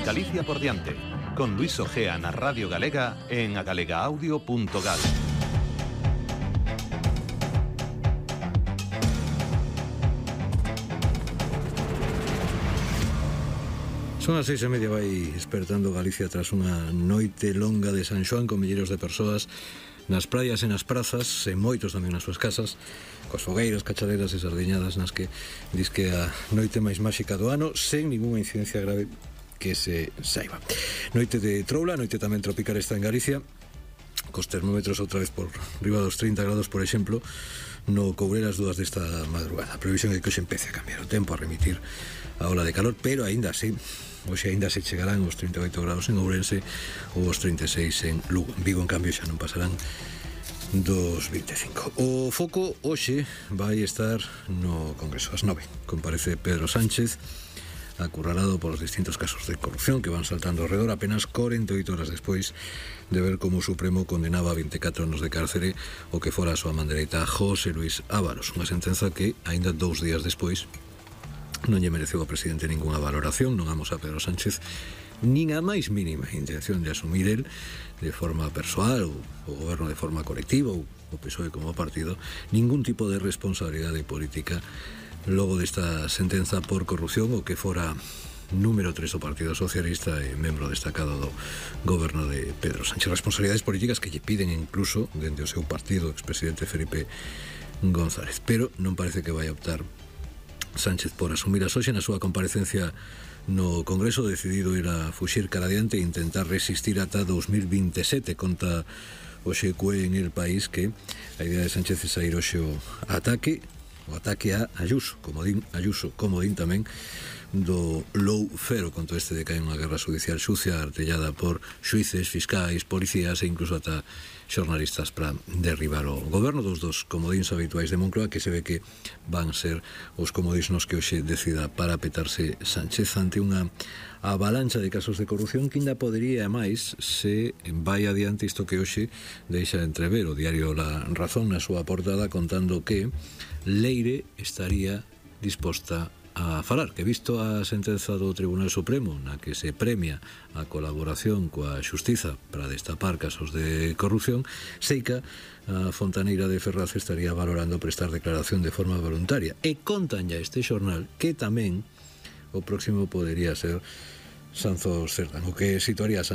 Galicia por diante, con Luis Ojea na Radio Galega en agalegaaudio.gal. Son as 6:30, vai despertando Galicia tras unha noite longa de San Xoán con milleiros de persoas nas praias e nas prazas, e moitos tamén nas súas casas, coas fogueiras, cachaderas e sardiñadas nas que dis que a noite máis máxica do ano, sen ninguna incidencia grave que se saiba. Noite de troula, noite tamén tropical está en Galicia, cos termómetros outra vez por riba dos 30 grados, por exemplo, no Courel as 2 desta madrugada. A previsión é que hoxe empece a cambiar o tempo, a remitir a ola de calor, pero aínda así, hoxe aínda se chegarán os 38 grados en Ourense ou os 36 en Lugo. En Vigo, en cambio, xa non pasarán dos 25. O foco hoxe vai estar no Congreso. Ás 9 comparece Pedro Sánchez, acurralado polos distintos casos de corrupción que van saltando ao redor apenas 48 horas despois de ver como o Supremo condenaba a 24 anos de cárcere o que fora a súa man dereita José Luis Ábalos, unha sentenza que, aínda 2 días despois, non lle mereceu ao presidente ningunha valoración, non amos a Pedro Sánchez nin a máis mínima intención de asumir el de forma persoal ou o goberno de forma colectiva ou o PSOE como partido ningún tipo de responsabilidade política logo desta sentenza por corrupción o que fora número 3 o Partido Socialista e membro destacado do goberno de Pedro Sánchez. Responsabilidades políticas que lle piden incluso dende o seu partido o expresidente Felipe González, pero non parece que vai a optar Sánchez por asumir as hoxe na súa comparecencia no Congreso, decidido ir a fuxir cara adiante e intentar resistir ata 2027. Conta hoxe CUE en El País que a idea de Sánchez é sair hoxe o ataque a Ayuso, como din tamén do lawfare, con todo este de que hai unha guerra judicial sucia artellada por xuíces, fiscais, policías e incluso ata xornalistas para derribar o goberno dos comodíns habituais de Moncloa, que se ve que van ser os comodíns nos que hoxe decida parapetarse Sánchez ante unha avalancha de casos de corrupción que ainda podería máis se vai adiante isto que hoxe deixa entrever o diario La Razón na súa portada, contando que Leire estaría disposta a falar, que visto a sentenza do Tribunal Supremo na que se premia a colaboración coa xustiza para destapar casos de corrupción, seica a fontaneira de Ferraz estaría valorando prestar declaración de forma voluntaria. E contan ya este xornal que tamén o próximo podería ser Sanzos Cerdán, o que situaría a Sánchez